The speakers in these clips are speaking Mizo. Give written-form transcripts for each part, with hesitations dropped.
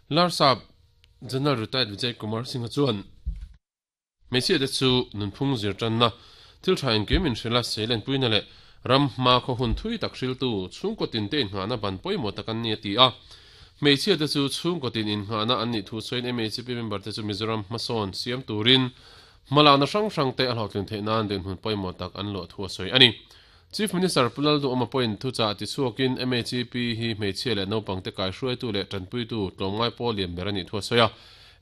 Larsap General Retired Vijay Kumar Singh-a chuan hmeichhiate chu nunphung zir tanna thil tha engkim inhrilh a, seilenpuina leh ram hma khaw hun thui tak hriltu chhungkaw tinte innghahna ban pawimawh tak an ni a ti a. Hmeichhiate chu chhungkaw tin innghahna an nih thu sawiin MHP member te chu Mizoram hmasawn siam turin hmalakna hrang hrangte a hlawhtlin theih nan dinhmun pawimawh tak an luah thu a sawi a ni. Chief Minister Pu Lalduhawma pawhin thuchah tichhuakin MHEP hi hmeichhia leh naupangte kaihruaitu leh tanpuitu tlawmngai pawl lian ber a nih thu a sawi a.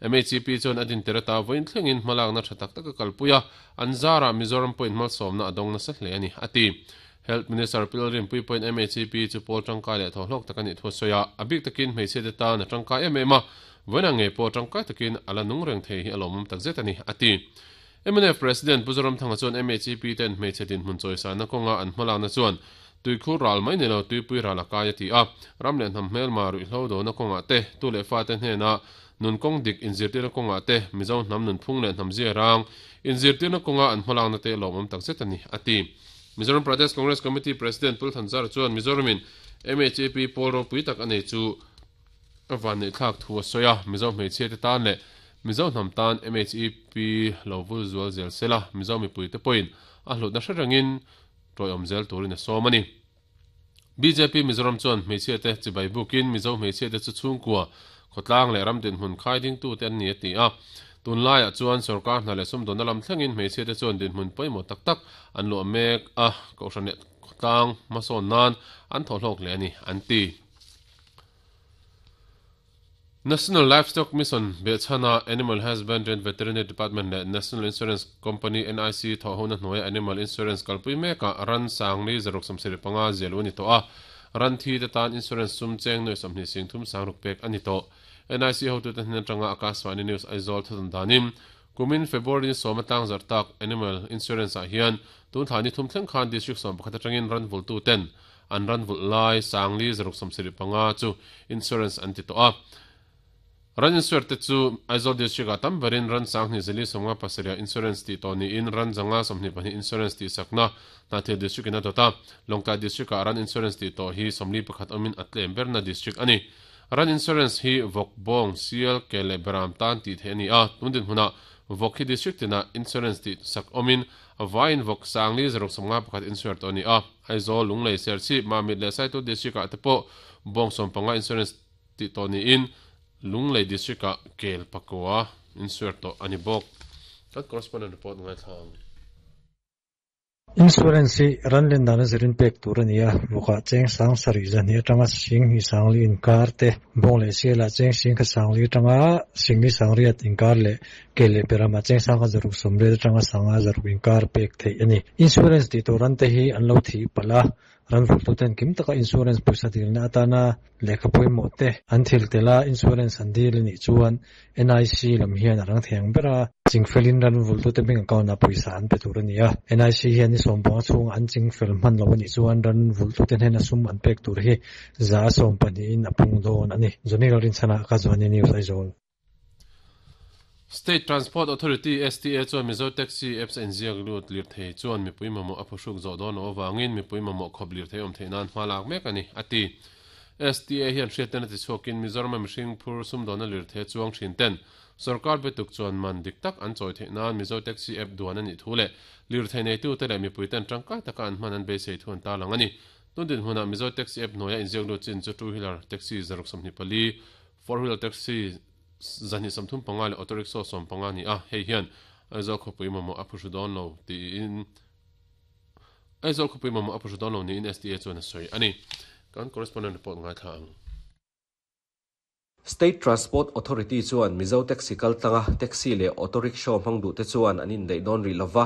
MHEP chuan a dintir ata vawiin thlengin hmalakna tha tak tak a kalpui a, an zarah Mizoram pawhin malsawmna a dawng nasa hle a ni, a ti. Health Minister Pu Lalrinpuii pawhin MHEP chu pawl tangkai leh thawhlawk tak a nih thu a sawi a, a bik takin hmeichhiate tan a tangkai em em a, vawiinah ngei pawh tangkai takin a la nung reng thei hi a lawmawm takzet a ni, a ti. Mnf President Pu Zoramthanga chuan MHEP ten hmeichhe dinhmun chawisana kawnga an hmalakna chuan tuikhur ral mai ni lo tuipui ral a kai a ti a. Ram leh hnam hmelma ruihhlo dona kawngah te, tu leh fate hnena nun kawng dik inzirtirna kawngah te, Mizo hnam nunphung leh hnam zia rang inzirtirna kawnga an hmalakna te lawmawm takzet a ni, a ti. Mizoram Pradesh Congress Committee President Pu Thanzara chuan Mizoramin MHEP pawl ropui tak a nei chu A vanneihthlak thu a sawi a, Mizo hmeichhiate tan leh Mizo hnam tan MHEP lo vul zual zel sela, Mizo mipuite pawhin a hlutna hre rengin tawiawm zel turin a sawm a ni. Bjp Mizoram chuan hmeichhiate chibai bukin Mizo hmeichhiate chu chhungkua, khawtlang leh ram dinhmun khai dingtute an ni a ti a. Tunlaiah chuan sorkar hna leh sumdawnna lam thlengin hmeichhiate chuan dinhmun pawimawh tak tak an luah mek a, kohhran leh khawtlang hmasawn nan an thawhhlawk hle a ni, an ti. National Livestock Mission behchhana Animal Husbandry and Veterinary Department leh National Insurance Company, NIC, thawhhona hnuaia Animal Insurance kalpui mekah ran sangli 675 zial u a ni tawh a, ran thi te tan insurance sum cheng nuai 20 sing thum sang ruk pek a ni tawh. NIC hotute hnen atanga Akashvani News Aizawl thawthan danin kumin February ni sawma tlangzarh tak Animal Insurance ah hian tun thla ni thum thleng khan District 11 atangin ran vultu ten An ran vulh lai Sangli 675 chu insurance an ti tawh a. Ran insure te chu Aizawl District ah tam berin ran 10,000 zali 57 ah insurance tih tawh niin ran 122 insurance tih sakna Hnahthial District in a dawt a. Lawngtlai District ah ran insurance tih tawh hi 41 awmin a tlem berna district a ni. Ran insurance hi vawk, bawng, sial, ke leh beram tan tih theih a ni a. Tun dinhmunah vawk hi district tinah insurance tih sak awmin A vaiin vawk Sangli 651 insure tawh a ni a, Aizawl, Lunglei, Serchhip, Mamit leh Saitul District ah te pawh bawng 15 insurance tih tawh niin Lunglei District ah kel pakua insure tawh a ni bawk. Kan correspondent report ngaithla ang. Insurance hi ran len dana zirin pek tur a ni a, vawkah cheng sang sarih zahnih atanga sing hnih sangli inkar te, bawng leh sialah cheng sing kha sangli atanga singli sangriat inkar leh Ke leh Perama chengsang kha zaruk sawmriat atanga sanga zaruk inkar pek theih a ni. Insurance tih tur ran te hi an lo thih palh a, ran vulhtuten kim taka insurance pawisa dilna atana lehkha pawimawh te an thil tel a, insurance an dil a nih chuan NIC lam hian a rang thei ang ber a, chingfelin ran vulhtute bank account ah pawisa an pe tur a ni a, NIC hian ni sawmpanga chhunga an chingfel hman lo a nih chuan ran vulhtute hnena sum an pek tur hi za 12 in a pung dawn a ni. Johnny Lalrinchhana, Akashvani News, Aizawl. State Transport Authority, STA, chuan Mizo Taxi apps a inziak lut lirthei chuan mipui mamawh a phuhruk zawh dawn loh avangin mipui mamawh khawp lirthei awm theih nan hma lak mek a ni, a ti. STA hian hriatna tichhuakin Mizorama mihring phur sumdawnna lirthei a chuang thin ten sorkar betuk chuan man dik tak an chawi theih nan Mizo Taxi app duan a nih thu leh lirthei neitute leh mipui ten tangkai taka an hman an beisei thu an tarlang a ni. Tun dinhmunah Mizo Taxi app hnuaia inziak lut chin chu two wheeler taxi 624, Four wheeler taxi 235 leh auto rickshaw 15 a ni a, hei hian Aizawl khawpui mamawh a phuhru dawn lo tiin Aizawl khawpui mamawh a phuhru dawn lo niin STA chuan a sawi a ni. Kan correspondent report ngaithla ang. State Transport Authority chuan Mizo taxi kaltlanga taxi leh auto rickshaw hmang duhte chuan an indaih dawn rih lova.